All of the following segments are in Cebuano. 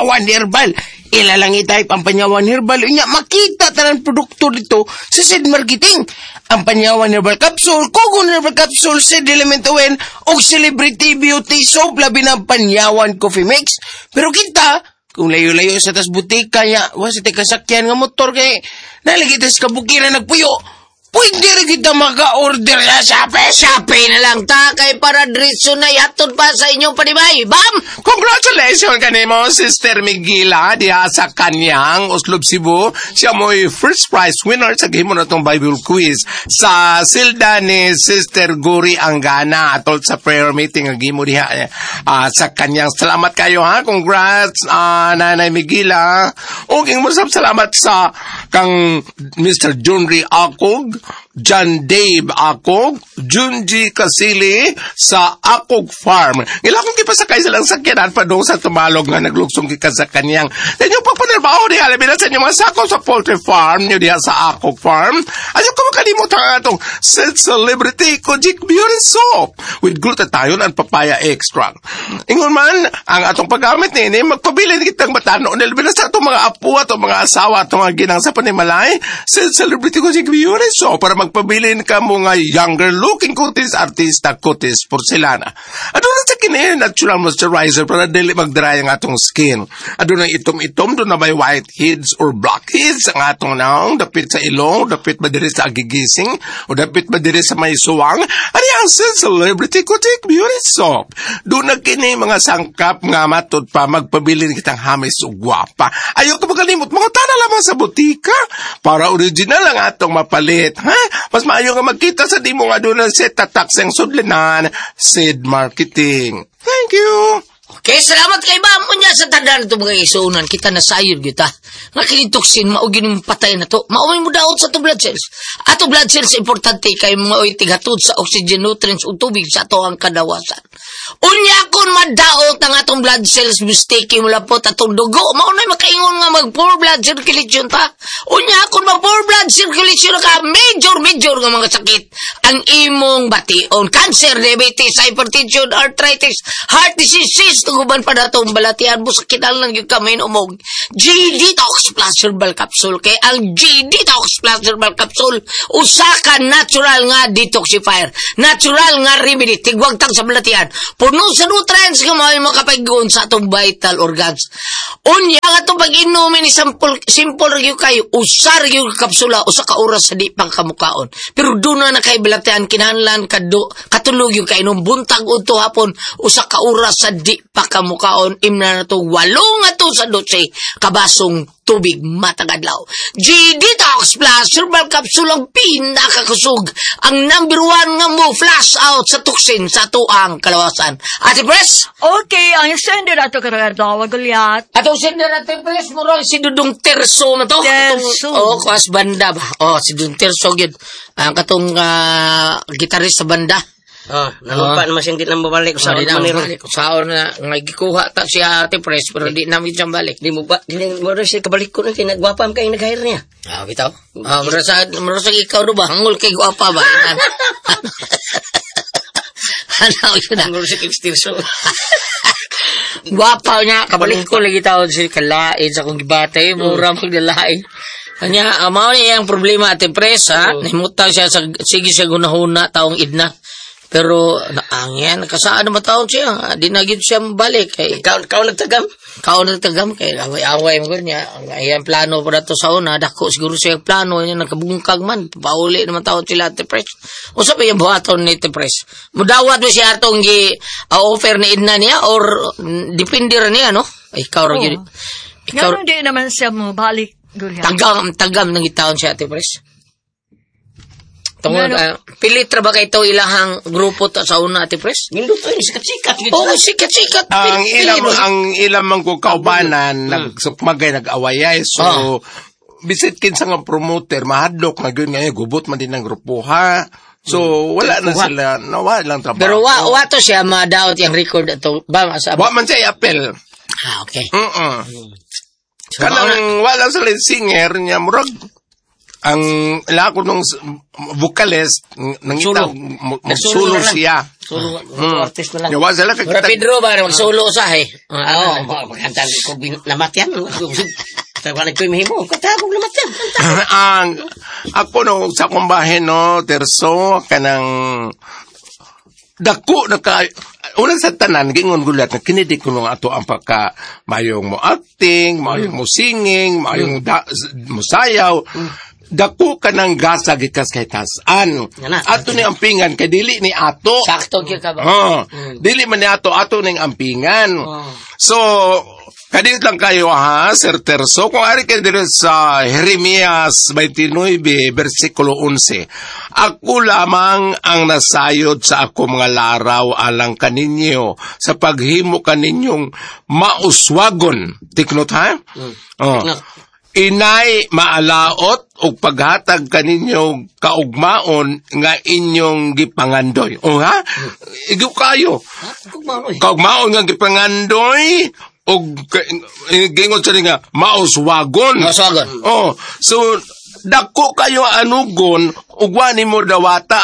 Panyawan Herbal. Ila lang i-type ang Panyawan Herbal. Unya, makita tanan produkto dito sa Seed Marketing. Ang Panyawan Herbal Capsule, Kogon Herbal Capsule, Seed Element Oil, o Celebrity Beauty Soap, labi na Panyawan Coffee Mix. Pero kita, kung layo-layo sa tas butika niya, wa sa kasakyan nga motor kay nalagi tas kabukiran nagpuyo. Pwede rin kita maka-order sa Shopee. Shopee na lang ta kay para diretso na ihatod pa sa inyong panibay. Bam! Congratulations kanimo, Sister Miguela, diha sa kanyang Oslob Cebu. Siya mo'y first prize winner sa gihimo na tong Bible quiz sa silda ni Sister Guri Angana atol sa prayer meeting ang gihimo diha sa kanyang. Salamat kayo ha. Congrats, Nanay Miguela. Ug mo salamat sa kang Mr. Junri Akog, John Dave Akog, Junji Kasili sa Akog Farm. Ila kong gipasakay silang sakyanan padung sa Tumalog nga naglugsong gikan sa kanyang. Sa inyong pagpanirbaho diha, labi na sa inyong mga sakop sa poultry farm niyo diha sa Akog Farm. Ayaw ko makalimot ang atong Set Celebrity Kojic Beauty Soap with glutathione and papaya extract. Ingon man, ang atong paggamit niini, magpabilin kitang matano. Labi na sa atong mga apo, atong mga asawa, atong mga ginang sa panimalay, Set Celebrity Kojic Beauty Soap para magpabilin ka mo nga younger looking kutis artista kutis porcelana. Aduna sa kini natural moisturizer para dili mag-dry ang atong skin. Aduna itom-itom, doon na may white heads or black heads ang atong naong, dapit sa ilong, dapit ba diri sa agigising, o dapit ba diri sa may suwang. Ani ang Celebrity Kojic Beauty Soap. Doon na kini mga sangkap nga matud pa magpabilin kitang hamis ug gwapa. Ayaw ko magalimot, mga tana lamang sa butika para original ang atong mapalit. Ha? Mas maayo nga magkita sa di mo nga doon ang set tatak sang sudlinan, Seed Marketing. Thank you. Okay, salamat kay Bam. Unya sa tanan ito mga isuunan, kita nasayod kita. Nga kini toxin, mao gyud patay na to. Mao mo daot sa to blood cells. Ato blood cells importante kay mga oy tighatod sa oxygen, nutrients ug tubig sa ato ang kadawasan. Unya kun madaot ang atong blood cells, mistake mo lapot atong dugo. Mao na makaingon nga mag poor blood circulation ta. Unya kun mag poor blood circulation ka, major major nga mga sakit ang imong bation. Cancer, diabetes, hypertension, arthritis, heart disease, tuguban pa natong balatian. Busa kinahanglan gyud ka umog G-Detox Plus Herbal Capsule. Kay ang G-Detox Plus Herbal Capsule usa ka natural nga detoxifier, natural nga remedy, tigwagtang sa balatian, puno sa nutrients nga mao'y makapag-gon sa atong vital organs. Unya nga atong pag-inumin ni simple, simple ra gyud kayo, usa ra gyud ka kapsula, usa ka oras sa di pang kamukaon. Pero doon na kay balatian, kinahanglan kado katulog yung kainom buntag udto hapon, usa ka oras sa di pa kamukaon. Imna na to 8 sa 12 kabasong tubig matag adlaw. G-Detox Plus Herbal Capsule ang pinakakusog, ang number one nga mo flush out sa toxin sa tuang kalawasan. Ate Pres? Okay, ang sender ato karong adlaw, Gulyat. Atong sender, Ate Pres, murag si Dudong Terso man to. Terso. Oh, kuas banda ba? Oh, si Dudong Terso gyud. Ang katong gitarist sa banda. Oh, nalupa naman siyang di na mabalik sa Sa di na maniro. balik. Saon na nga gikuha ta siya, Ate Pres, pero di namin siya balik. Di mo ba, di mo rin siya kabalik ko na, kinagwapa kay nag-hire niya. Ah, bitaw. Ah, mura sa ikaw do ba? Hangol kay gwapa ba? Ano yun na? Ang gulo si Kim Stirso. Gwapa niya. Kabalik ko lagi taon si kalain sa akong gibata eh. Mura magdalain. Kanya, mao ni ang problema, Ate Pres, ha? Nahimutang siya sa, sige siya gunahuna taong idna. Pero, naangyan, kasaan naman taon siya? Di na gyud siya mabalik. Kay, Ikaw nagtagam? Kao nagtagam kay away-away mo niya. Ang iyang plano pa dato sa una, dako siguro siya plano niya nagkabungkag man. Pauli naman taon sila, Ate Pres. Usa pa yung buhaton ni Ate Pres? Mudawat mo siya atong gi offer ni Edna niya or depende ra niya, no? Ay, ikaw ra gyud. Ikaw Nga di naman siya mo balik, Gulyat. Tagam tagam nang gitaon siya, Ate Pres. Tungod Ngano? Pilit ra ba kay ito ilahang grupo ta sa una, Ate Pres? Nindot yun, sikat-sikat. Oo, sikat-sikat. Ang Pilit, ilang pilit. ang ilang man ko kaubanan nagsukmagay nag-awayay so bisit kinsa nga promoter mahadlok na gyud nga gubot man din ang grupo ha. So wala na sila, nawala lang trabaho. Pero wa to siya madaot yung record ato ba sa Wa man siya i-appeal. Ah, okay. Mm. So, mao na- Kanang wala sila yung singer niya murag Ang ila ko nung vocalist nang Solo. Magsulo Nagsulo na lang. siya. Solo, artist na lang. Yawa sila kay Mura Pedro ba magsulo usahay. Oo, magkanta ko namatyan. Tawa nagkoy mahimo. Kanta ko namatyan. Ang ako no sa akong bahin no Terso kanang dako na ka unang sa tanan gingon gulat na kinidik ko nung ato ang pagka mayong mo acting, mayong mo singing, mayong mo sayaw. Dako ka ng gasa gikas kay tasan. Nga na. Ato ni ampingan kay dili ni ato. Sakto gyud ka ba? Oh, dili man ni ato, ato ning ampingan. Oh. So, kadiyot lang kayo ha, Sir Terso. Kung ari kayo dito sa Jeremias 29, versikulo 11. Ako lamang ang nasayod sa ako mga laraw alang kaninyo sa paghimo kaninyong mauswagon. Tiknot ha? Oh. Tiknot. Inay maalaot og paghatag kaninyo kaugmaon nga inyong gipangandoy. O ha? Igo kayo. Kaugmaon nga gipangandoy og gingon sa nga mauswagon. Mauswagon. Oh, so dako kayo anugon ug wa nimo dawata.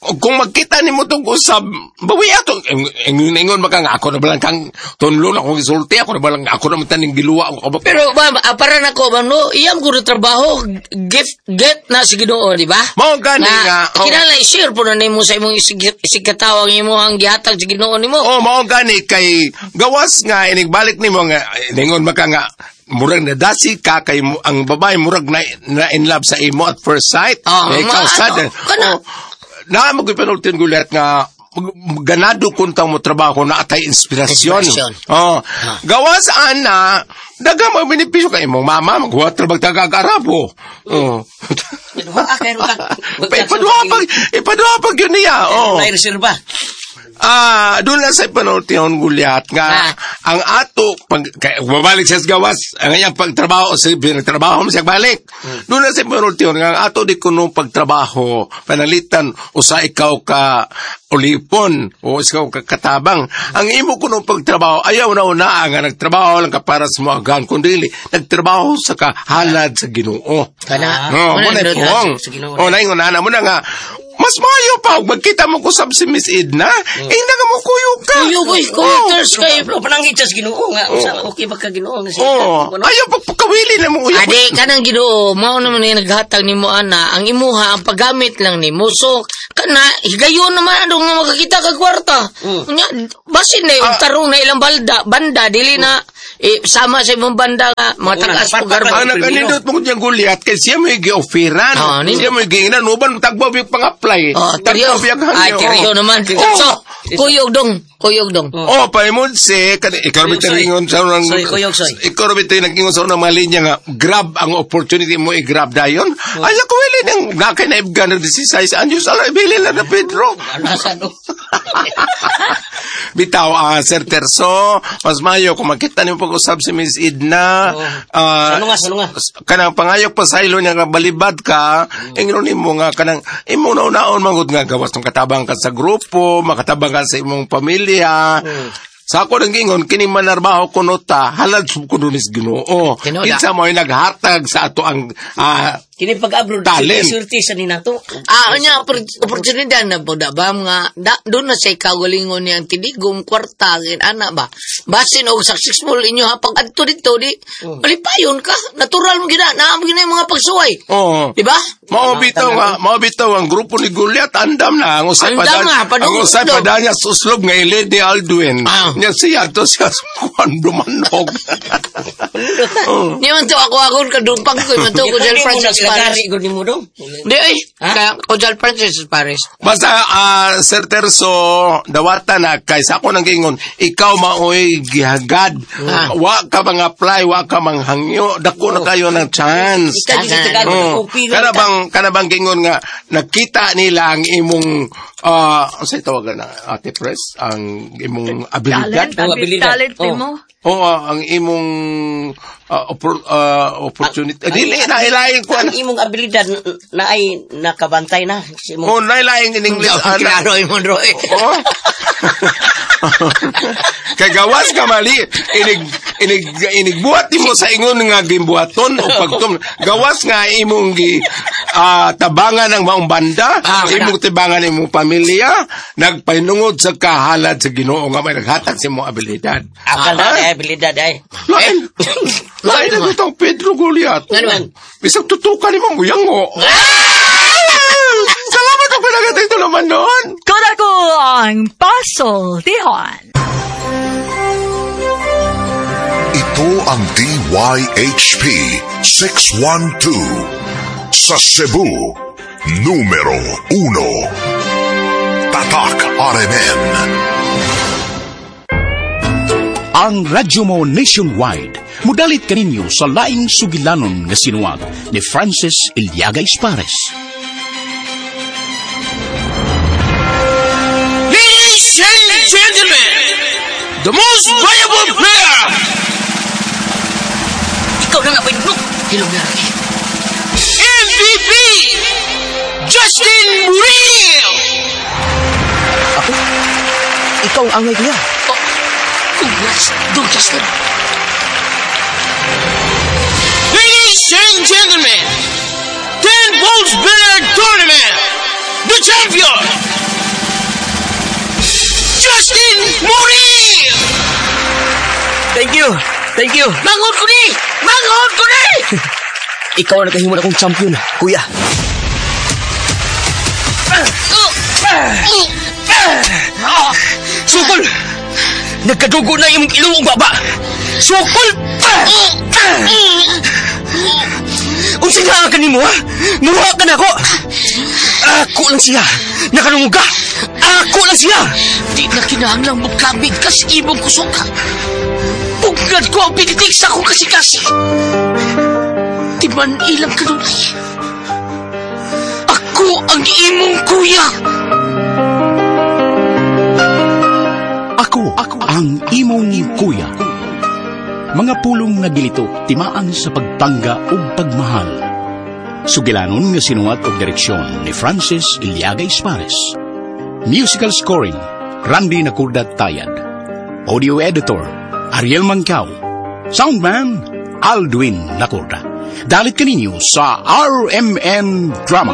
Kung magkita nimo tong usab, bawi ato ingon maka nga ako na balang kang tunlo na akong gisulti, ako na balang ako na man taning giluwa ako ba. Pero ba para nako ba no, iyam ko na trabaho, gift get na si Ginoo, di ba? Mao gani nga. Oh. Kinahanglan i-share po na nimo sa imong isigkatawang imo ang gihatag sa Ginoo nimo. Oh, mao gani kay gawas nga inigbalik nimo nga ingon maka nga murag nadasi ka kay ang babae murag na in love sa imo at first sight. Oh, Eh, ikaw sad. kana. Oh, na mo gipanultin gulat nga ganado kuntang mo trabaho na atay inspirasyon. Inspirasyon. Oh. Gawas ana daga mo benepisyo kay imong mama maghuwat ra bagtag-arabo. Oh. Ipaduha pag yun niya. Oh. May reserva. Doon lang sa panultihon gulyat nga ang ato pag kay, babalik siya sa gawas ang iyang pagtrabaho sa pinagtrabaho mo siya balik. Doon lang sa panultihon nga ang ato di kuno pagtrabaho panalitan usa ikaw ka ulipon o ikaw ka katabang. Ang imo kuno pagtrabaho ayaw na una nga nagtrabaho lang ka para sa mga kundi nagtrabaho sa kahalad sa Ginoo. Kana. No, mo na puong. Sa Ginoo. Oh, naingon na mo na nga mas maayo pa og magkita mo kusab si Miss Edna. Eh nga mo kuyog ka. Kuyog oy, kuyog ters kay. Pero panangit sa Ginoo nga usa okay ba ka Ginoo nga siya. Oh, ayaw pagpakawili na mo uyab. Ade kanang Ginoo, mao naman ni naghatag nimo ana, ang imuha ang paggamit lang nimo. So kana higayon naman adong nga makakita kag kwarta. Nya basin na yung tarong na ilang balda, banda dili na sama sa imong banda nga mga tagas po garbo. Ang nakanindot mo niyang gulyat kay siya mo gi-offeran. Siya mo giingnan uban tagbo yung pang-apply. Oh, teriyo. Ay, teriyo naman. So, kuyog dong, kuyog dong. Oh, paimod si kani ikaw ra bitay sa unang Soy, kuyog, soy. Ikaw ra bitay nag-ingon sa unang mga linya nga grab ang opportunity mo i-grab dayon. Ay ako wili nang nakay na ibgan na 16 anyos ala ibili lang na Pedro. Bitaw, Sir Terso, mas mayo kung makita nimo pag-usab si Miss Edna, Salunga, salunga. Kanang pangayok pa sa ilo niya nga balibad ka, ingnon nimo nga kanang imong naon mangud nga gawas ng katabang ka sa grupo, makatabang ka sa imong pamilya. Sa ako nang gingon kini manarbaho kuno ta halad sub kuno nis Ginoo. Kinsa mo ay naghatag sa ato ang kini pag-abroad talent. Surti sa ninato. Unya oportunidad na po da ba nga doon na say kagalingon niyang tinigong kwarta gin ana ba. Basin og successful inyo ha pag adto dito di malipayon ka, natural mo gina naa mo gina yung mga pagsuway. Oo. Di ba? Mao bitaw nga, mao bitaw ang grupo ni Goliath andam na ang usay Andam pa nga, ang usay pa niya suslob nga ilid ni Aldwin. Nya siya to siya kuan dumanog. Ni man to ako akon kadumpang ko man to ko Jal Francis Paris. Di ay, kaya ko Jal Francis Paris. Basta Sir Terso, dawata na kay sa ako nang giingon, ikaw maoy gihagad. Wa ka mang apply, wa ka mang hangyo, dako na kayo ng chance. Kana bang giingon nga nakita nila ang imong unsay tawagan na Ate Pres, ang imong abilidad, talent mo. Oo, ang imong opportunity. Dili na ilain ko ang imong abilidad na ay nakabantay na. Oh, nailain in English. Klaro imong Roy. Oh. Kay gawas ka mali, inig inig inigbuhat nimo sa ingon nga gimbuhaton o pagtum gawas nga imong gi tabangan ang maong banda, imong tibangan imong pamilya, nagpahinungod sa kahalad sa Ginoo nga may naghatag sa imong abilidad. Akal na ay abilidad ay. Lain. Lain na itong Pedro Goliath. Nga naman. Bisag tutukan ni Mang Uyango. Salamat ang pinagatay ito naman noon. Kodako ang pasultihan. Ito ang DYHP 612 sa Cebu, numero 1. Tatak RMN. Ang radyo mo nationwide. Mudalit kaninyo sa laing sugilanon nga sinuwag ni Francis Iliaga Espares. Ladies and gentlemen, the most valuable player, Ikaw na nga ba no? Hilom na rin. MVP, Justin Muriel! Ako? Ikaw ang angay kuya. Oh, congrats, Dong Justin. Ladies and gentlemen, 10 Balls Billiard Tournament, the champion, Justin Muriel! Thank you. Thank you. Manghod ko ni! Manghod ko ni! Ikaw ang nakahimo na akong champion, kuya. Sukol! Nagkadugo na imong ilong ug baba. Sukol! Unsa nga ka nimo ha? Muha ka na ako. Ako lang siya. Nakanungog ka. Ako lang siya. Di na kinahanglang magkabig ka sa imong kusog. Pugad ko ang pinitik sa akong kasikasi. Di man ilang kanunay. Ako ang imong kuya. Ako, ang imong kuya. Mga pulong nga gilito timaan sa pagpangga ug pagmahal. Sugilanon nga sinuwat og direksyon ni Francis Iliaga Espares. Musical scoring, Randy Nakurda Tayad. Audio editor, Ariel Mangkao. Soundman, Aldwin Nakurda. Dalit kaninyo sa RMN Drama.